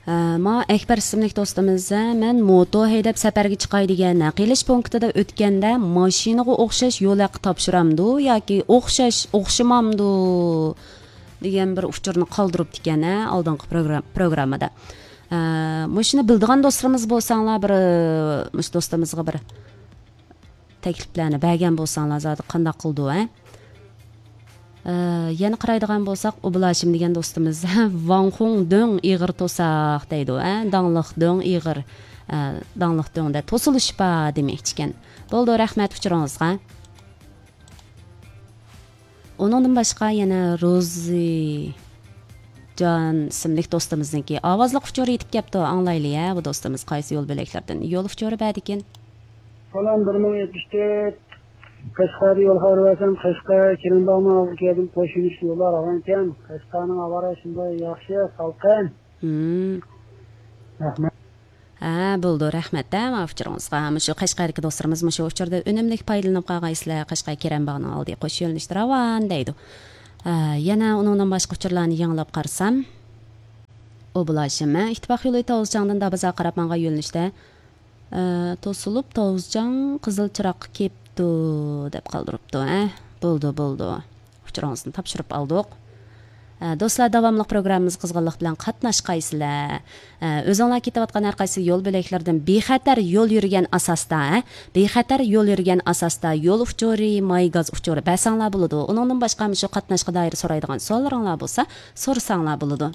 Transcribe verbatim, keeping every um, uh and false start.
ھە، ما ئەكبەر ئىسىملىك دوستىمىز، ھە، مەن موتو ھەيدەپ سەپەرگە چىقاي دېگەن، ھە، قىلىش پونكىتىدا ئۆتكەندە ماشىنىغا ئوخشاش يول ھەققى تاپشۇرامدۇ ياكى ئوخشاش، ئوخشىمامدۇ دېگەن بىر ئۇچۇرنى قالدۇرۇپتىكەن، ھە، ئالدىنقى پروگرام-، پروگراممىدا. ھە، مۇشۇنى بىلىدىغان دوستلىرىمىز بولساڭلار، بىر، مۇشۇ دوستىمىزغا بىر تەكلىپلەرنى بەرگەن بولساڭلار زادى قانداق قىلىدۇ، ھە؟ ئە، يەنە قارايدىغان بولساق، ئوبۇلھاشىم دېگەن دوستىمىز، ۋاڭخۇڭ دۆڭ ئېغىر توساق دەيدۇ، ھە؟ داڭلىق دۆڭ ئېغىر، ئە، داڭلىق دۆڭدە توسۇلۇش بار دېمەكچىكەن. بولدى، رەھمەت ئۇچۇرىڭىزغا. ئۇنىڭدىن باشقا يەنە روزى جان ئىسىملىك دوستىمىزنىڭكى ئاۋازلىق ئۇچۇرى يېتىپ كەپتۇ. ئاڭلايلى، ھە، بۇ دوستىمىز قايسى يول بۆلەكلەردىن يول ئۇچۇرى بەردىكىن؟ سالام، بىر مىڭ يەتمىش تۆت. قەشقەردە يول خەۋىرى بەرسەم، قەشقەر، كېرەمباغنىڭ ئالدىغا كەلدىم، قوش يۆنىلىشلىك يوللار راۋان ئىكەن. قەشقەرنىڭ ھاۋا رايى شۇنداق ياخشى، سالقىن. ھىم. رەھمەت. ھە، بولىدۇ، رەھمەت، ھە، ماۋۇ ئۇچۇرىڭىزغا. مۇشۇ قەشقەردىكى دوستلىرىمىز مۇشۇ ئۇچۇردا ئۈنۈملۈك پايدىلىنىپ قالغايسىلەر. قەشقەر كېرەمباغنىڭ ئالدى قوش يۆنىلىشتە راۋان دەيدۇ. ھە، يەنە ئۇنىڭدىن باشقا ئۇچۇرلارنى يېڭىلاپ قارىسام، ئوبۇلھاشىم، ھە، ئىتتىپاق يولى تاۋۇزچاڭدىن دابازار قاراپ ماڭغان يۆنىلىشتە ئە، توسۇلۇپ، توۋزىچاڭ قىزىل چىراغقا كېپتۇ، دەپ قالدۇرۇپتۇ، ھە؟ بولدى، بولدى. ئۇچۇرىڭىزنى تاپشۇرۇپ ئالدۇق. ئە، دوستلار، داۋاملىق پروگراممىمىزغا قىزغىنلىق بىلەن قاتناشقايسىلەر. ئە، ئۆزۈڭلار كېتىۋاتقان ھەر قايسى يول بۆلەكلىرىدىن بىخەتەر يول يۈرگەن ئاساستا، ھە؟ بىخەتەر يول يۈرگەن ئاساستا يول ئۇچۇرى، ماي گاز ئۇچۇرى بەرسەڭلار بولىدۇ. ئۇنىڭدىن باشقا مۇشۇ قاتناشقا دائىر سورايدىغان سوئاللىرىڭلار بولسا، سورىساڭلار بولىدۇ.